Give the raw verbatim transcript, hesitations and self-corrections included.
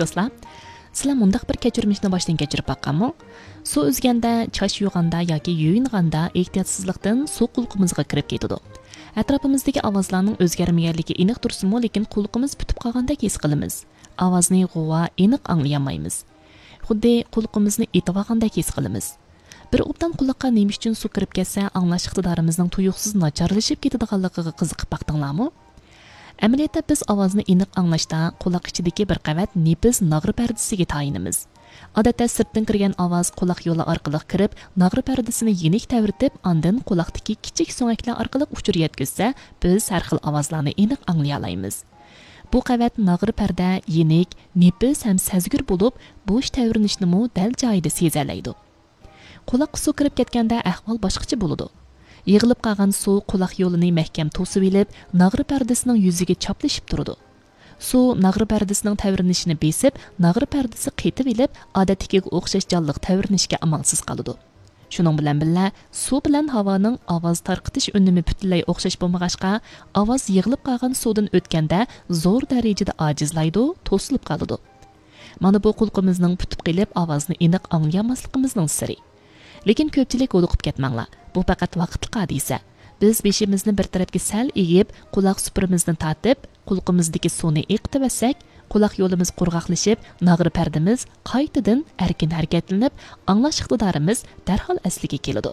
دوستلار، سىلەر مۇنداق بىر كەچۈرمىشنى باشتىن كەچۈرۈپ باققانمۇ؟ سۇ ئۈزگەندە، چاچ يۇغاندا ياكى يۇيۇنغاندا ئېھتىياتسىزلىقتىن سۇ قۇلىقىمىزغا كىرىپ كېتىدۇ. ئەتراپىمىزدىكى ئاۋازلارنىڭ ئۆزگەرمىگەنلىكى ئېنىق تۇرسىمۇ، لېكىن قۇلىقىمىز پۈتۈپ قالغاندەك ھېس قىلىمىز. ئاۋازنى غۇۋا، ئېنىق ئاڭلىيالمايمىز. خۇددى قۇلىقىمىزنى ئېتىۋالغاندەك ھېس قىلىمىز. بىر ئوبدان قۇلاققا نېمە ئۈچۈن سۇ كىرىپ كەتسە، ئاڭلاش ئىقتىدارىمىزنىڭ تۇيۇقسىز ناچارلىشىپ كېتىدىغانلىقىغا قىزىقىپ باقتىڭلارمۇ؟ ئەمەلىيەتتە بىز ئاۋازنى ئېنىق ئاڭلاشتا قۇلاق ئىچىدىكى بىر قەۋەت نېپىز ناغرا پەردىسىگە تايىنىمىز. ئادەتتە سىرتتىن كىرگەن ئاۋاز قۇلاق يولى ئارقىلىق كىرىپ، ناغرا پەردىسىنى يېنىك تەۋرىتىپ، ئاندىن قۇلاقتىكى كىچىك سۆڭەكلەر ئارقىلىق ئۇچۇر يەتكۈزسە، بىز ھەر خىل ئاۋازلارنى ئېنىق ئاڭلىيالايمىز. بۇ قەۋەت ناغرا پەردە يېنىك، نېپىز ھەم سەزگۈر بولۇپ، بوش تەۋرىنىشنىمۇ دەل جايىدا سېزەلەيدۇ. قۇلاققا سۇ كىرىپ كەتكەندە ئەھۋال باشقىچە بولىدۇ. يىغىلىپ قالغان سۇ قۇلاق يولىنى مەھكەم توسۇۋېلىپ، ناغرا پەردىسىنىڭ يۈزىگە چاپلىشىپ تۇرىدۇ. سۇ ناغرا پەردىسىنىڭ تەۋرىنىشىنى بېسىپ، ناغرا پەردىسى قېتىۋېلىپ، ئادەتتىكىگە ئوخشاش جانلىق تەۋرىنىشكە ئامالسىز قالىدۇ. شۇنىڭ بىلەن بىللە، سۇ بىلەن ھاۋانىڭ ئاۋاز تارقىتىش ئۈنۈمى پۈتۈنلەي ئوخشاش بولمىغاچقا، ئاۋاز يىغىلىپ قالغان سۇدىن ئۆتكەندە زور دەرىجىدە ئاجىزلايدۇ، توسۇلۇپ قالىدۇ. مانا بۇ قۇلىقىمىزنىڭ پۈتۈپ قېلىپ، ئاۋازنى ئېنىق ئاڭلىيالماسلىقىمىزنىڭ سىرى. لېكىن كۆپچىلىك ھودۇقۇپ كەتمەڭلار، بۇ پەقەت ۋاقىتلىق ھادىسە. بىز بېشىمىزنى بىر تەرەپكە سەل ئېگىپ، قۇلاق سۈپۈرىمىزنى تارتىپ، قۇلىقىمىزدىكى سۇنى ئېقىتىۋەتسەك، قۇلاق يولىمىز قۇرغاقلىشىپ، ناغرا پەردىمىز قايتىدىن ئەركىن ھەرىكەتلىنىپ، ئاڭلاش ئىقتىدارىمىز دەرھال ئەسلىگە كېلىدۇ.